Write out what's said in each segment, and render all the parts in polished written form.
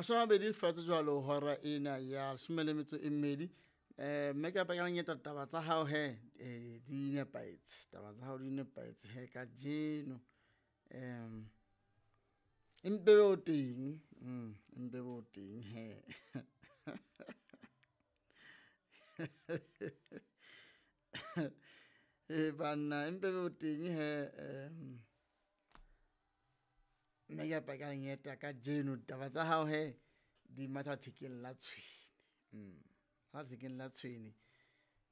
20 fatshe jwalo hora ena ya 12. Mme ka pakang taba tsa hao he di nepahetse, taba tsa hao di nepahetse he kajeno. Empe o teng, empe o teng he. E banna empe o teng he. Mme ka pakang eta kajeno taba tsa hao he di matha thekeng la tshwene. Ha thekeng la tshwene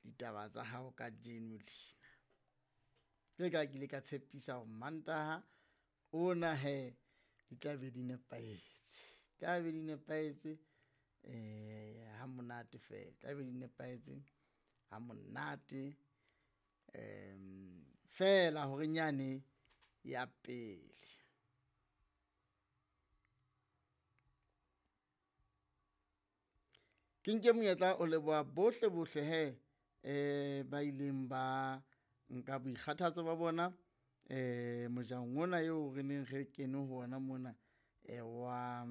ditaba tsa hao kajeno lena. Ke ka ke ile ka tshepisa hore Mantaha ona he di tla be di nepahetse. Tla be di nepahetse ha monate fela, tla be di nepahetse ha monate fela hore nyane ya pele. Ke nke monyetla o leboha bohle bohle he ba ileng ba nka boikgathatso ba bona mojahong ona eo re neng re kene ho ona mona wa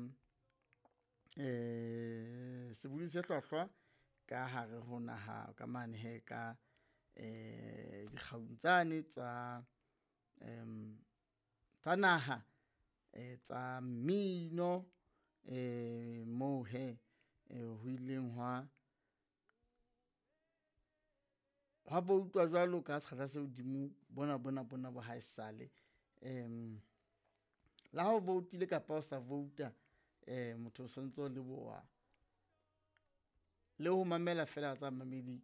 sebohodi se hlwahlwa ka hare ho naha ka mane he ka dikgaung tsane tsa tsa naha tsa mmino moo he ho ileng hwa voutwa jwalo ka sekgahla se hodimo bona bona bona bo haesale. Le ha o voutile kapa o sa vouta, motho o sontso o leboha le ho mamela fela tsa mamedi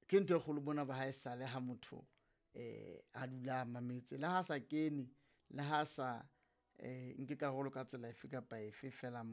ke ntho e kgolo bona ba haesale ha motho a dula mametse le ha sa kene, le ha sa nke karolo ka tsela efe kapa efe fela.